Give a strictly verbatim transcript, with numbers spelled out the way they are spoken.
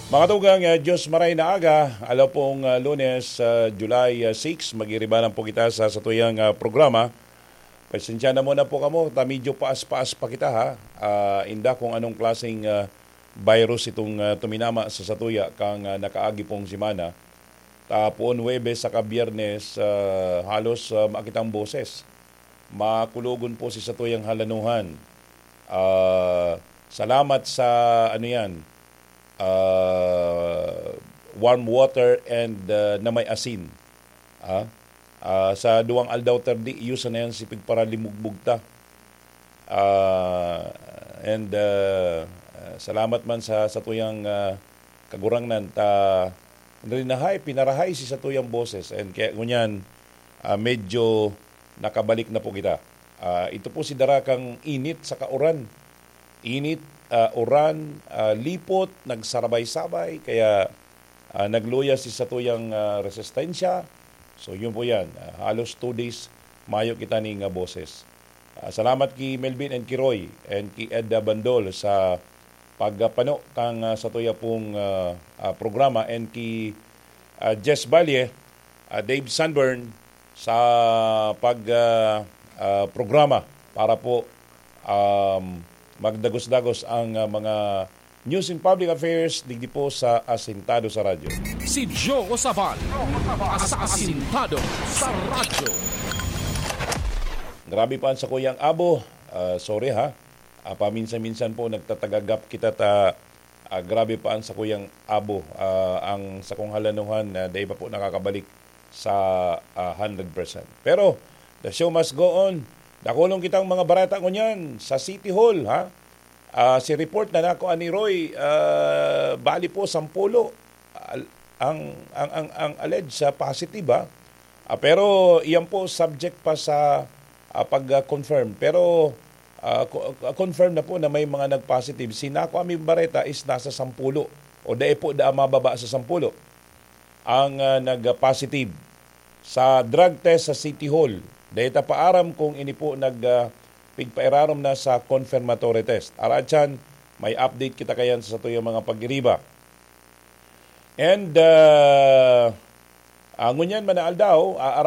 Mga tugang, ah, Diyos maray na aga, alaw pong, ah, Lunes, ah, July, ah, six, magiribanan po kita sa satuyang, ah, programa. Pasensya na muna po kamo, ta medyo paas-paas pa kita, ha. Ah, inda kung anong klaseng, ah, virus itong, ah, tuminama sa satuya kang, ah, nakaagi pong semana. Ta poon Huwebes saka Biyernes, ah, halos, ah, makitang boses. Makulogon po si satuyang halanuhan. Ah, salamat sa, ano yan, ah, warm water and, ah, na may asin. Ah, ah, sa duwang aldaw tardi, iyo sana yan si pigparalimugbog ta. Ah, and, ah, ah, salamat man sa satuyang, ah, Kagurangnan ta rinahay, pinarahay si satuyang boses. And kaya ngunyan, ah, medyo nakabalik na po kita. Ah, ito po si darakang init sa kauran. Init, ah, uran, ah, lipot, nagsarabay-sabay, kaya, ah, nagluya si satuyang, ah, resistensya. So, yun po yan. Ah, halos two days, mayo kita ning, ah, boses. Ah, salamat ki Melvin and ki Roy and ki Ed Bandol sa pagpano kang, ah, satuya pong, ah, ah, programa and ki, ah, Jess Valle, ah, Dave Sunburn sa pag, ah, ah, programa para po, um, magdagos-dagos ang, ah, mga news in public affairs digdi po sa Asintado sa Radyo. Si Joe Sabal, sa Asintado sa Radyo. Grabe pa ang sakuyang abo. Ah, sorry ha. Ah, paminsan-minsan po nagtatagagap kita ta, ah, grabe pa ang sakuyang abo. Ah, ang sakong halanuhan na dai pa po nakakabalik sa, ah, hundred percent. Pero, the show must go on. Dakulong kitang mga bareta ngunyan sa City Hall, ha? Ah, si report na nako ani Roy, ah, bali po, sampulo. Al-, ang, ang, ang, ang alleged sa positive, ha? Ah, pero iyan po subject pa sa, ah, pag-confirm. Pero, ah, co-, ah, confirm na po na may mga nag-positive. Si nako ami bareta is nasa sampulo. O dai po da mababa sa sampulo ang, ah, nag-positive sa drug test sa City Hall. Dai ta pa aram kung ini po nag, ah, pigpairarom na sa confirmatory test. Aratyan, may update kita kayan sa satuyang mga pagiriba. And, ah, ah, ngunyan man na aldaw, ah,